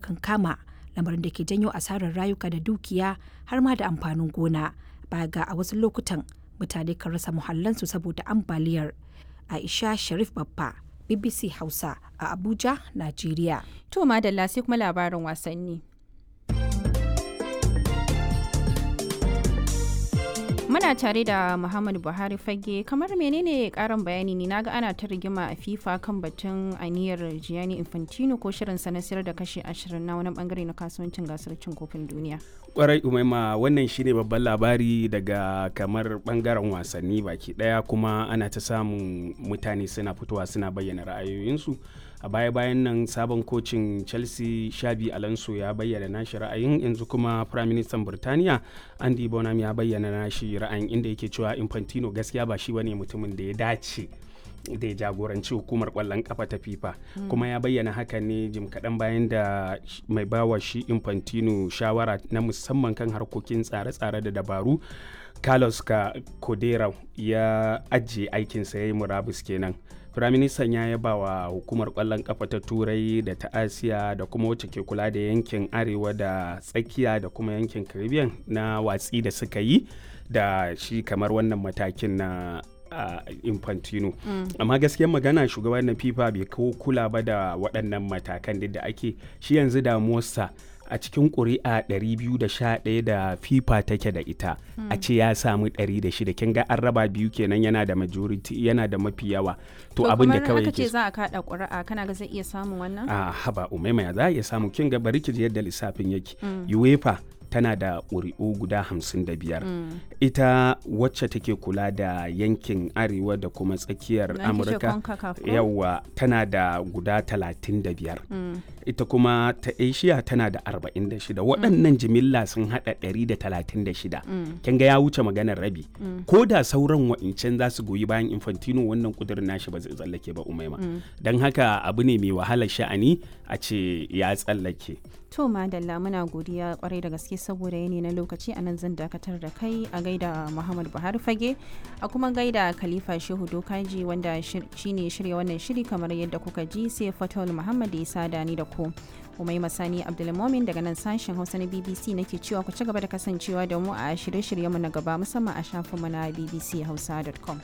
kankama, lamarin da ke janyo asarar rayuka da dukiya har ma da amfanin gona. Baya ga a wasu lokutan mutane kan rasa muhallansu saboda ambaliyar. Aisha Sharif Baffa, BBC Hausa a Abuja, Najeriya. To madalla, sai kuma labarin wasanni. Muna tare da Muhammadu Buhari Fage. Kamar menene karin bayani ne? Naga ana ta rigima a FIFA kan batun aniyar Gianni Infantino ko shirin sa na sayar da kashi 20 na wani bangare na kasuwancin gasar cin kofin duniya. Kwarai Umaima, wannan shine babban labari daga kamar bangaren wasanni baki daya, kuma ana ta samun mutane suna fitowa suna bayyana ra'ayoyinsu. A baya-bayan nan sabon kocin Chelsea Shabi Alonso ya bayyana nashi ra'ayin, yanzu kuma Prime Minister Burtaniya Andy Bonham ya bayyana nashi ra'ayin, inda yake cewa Infantino gaskiya ba shi bane mutumin da ya dace da ya jagoranci hukumar kwallon kafa ta FIFA. Kuma ya bayyana haka ne jim kaɗan bayan da mai bawa shi Infantino shawara na musamman kan harkokin tsare-tsare da dabaru, Carlos Codera, ya ajiye aikinsa, ya yi murabus kenan. Firaministan ya yaba wa hukumar kwallon kafa ta Turai da ta Asiya da kuma wacce ke kula da yankin Arewa da Tsakiya da kuma yankin Caribbean na watsi da suka yi da shi kamar wannan matakin na Infantino. Amma gaskiyar magana, shugaban na FIFA bai kawo kula ba da waɗannan matakan duk da ake shi. Yanzu damuwarsa, a cikin ƙuri'a 211 da FIFA take da ita, a ce ya samu 106, kin ga an raba biyu kenan, yana da majority, yana da mafi yawa. To abin da kawai aka ce za a kada ƙuri'a, kana ga zai iya samun wannan? A haba Umaima, ya za a iya samu? Kin ga, bari ki ji yadda lissafin yake. UEFA tana da ƙuri'u guda 55. Ita wacce take kula da yankin Arewa da kuma Tsakiyar Amurka, yawa, tana da guda 35. Ita kuma ta Asia tana da 46. Waɗannan jimilla sun haɗa 136. Kin ga ya wuce maganar rabi. Ko da sauran wa'incan za su goyi bayan Infantino, wannan kudirin nashi ba zai tsallake ba, Umaima. Don haka abu ne mai wahalar sha'ani a ce ya tsallake. To madalla, muna godiya kwarai da gaske. Saboda yanayi na lokaci, a nan zan dakatar da kai. A gaida Muhammad Buhari Fage, a kuma gaida Khalifa Shehu Dokaji wanda shine shirya wannan shiri kamar yadda kuka ji, sai Fatawul Muhammad ya sada ni da ku. Umai Masani Abdulmomin daga nan sashen Hausa na BBC nake cewa ku ci gaba da kasancewa da mu a shirye-shiryenmu na gaba, musamman a shafinmu na bbchausa.com.